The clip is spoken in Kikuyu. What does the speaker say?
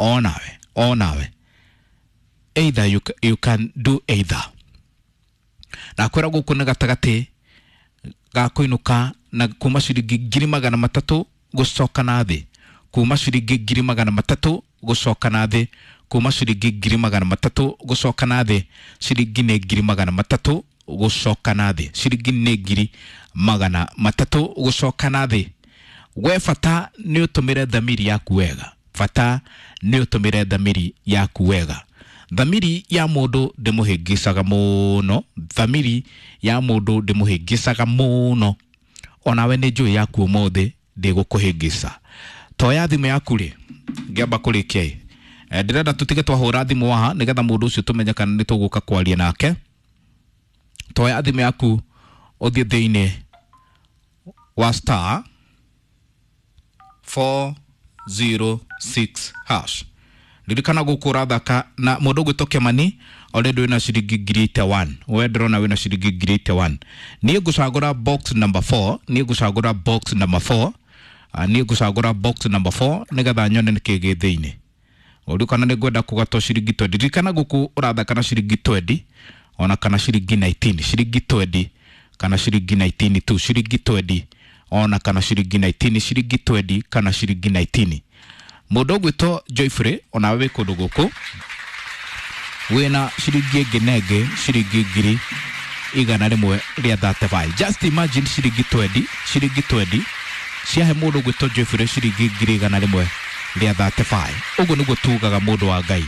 Onawe, onawe either you can do either. Nakwĩra gũkũ nĩ gatagatĩ ga kũinũka na kuma ciringi 300,000 gũcoka na thĩ, kuma ciringi 300,000 gũcoka na thĩ, kuma ciringi 300,000 gũcoka na thĩ. Ciringi nĩ 300,000 gũcoka na thĩ, ciringi nĩ 300,000 gũcoka na thĩ. We bata nĩ ũtũmĩre thamiri yaku wega, bata nĩ ũtũmĩre thamiri yaku wega. Thamiri ya mũndũ ndĩmũhĩngĩcaga mũno, thamiri ya mũndũ ndĩmũhĩngĩcaga mũno. Onawe nĩ njũĩ yaku ũmũthĩ ndĩgũkũhĩngĩca. Toya thimũ yaku rĩ, ngĩamba kũrĩkia ĩ, ndĩrenda tũtige twahũra thimũ haha nĩgetha mũndũ ũcio tũmenye kana nĩ tũgũka kwaria nake. Toya thimũ yaku ũthiĩ thĩinĩ wa star 406 hash. Ririkana gũkũ ũrathaka na mũndũ ũgwĩtwo Kĩmani already wĩna ciringi 81,000. We ndĩrona wĩna ciringi 81,000. Niĩ ngũcagũra box number 4, niĩ ngũcagũra box number 4, niĩ ngũcagũra box number 4 nĩgetha nyone nĩkĩ gĩ thĩinĩ. Ũrĩ kana nĩ ngwenda kũgatwo ciringi 20. Ririkana gũkũ ũrathaka na ciringi 20 ona kana ciringi 19, ciringi 20 kana ciringi 19 tu, ciringi 20 ona kana ciringi 19, ciringi 20 kana ciringi 19. Mũndũ ũgwĩtwo Joyfrey onawe wĩ kũndũ gũkũ wĩna ciringi ĩngĩ na ĩngĩ ciringi 135,000. Just imagine ciringi 20, ciringi 20 ciahe mũndũ ũgwĩtwo Joyfrey ciringi 135,000. Ũguo nĩguo tugaga mũndũ wa Ngai.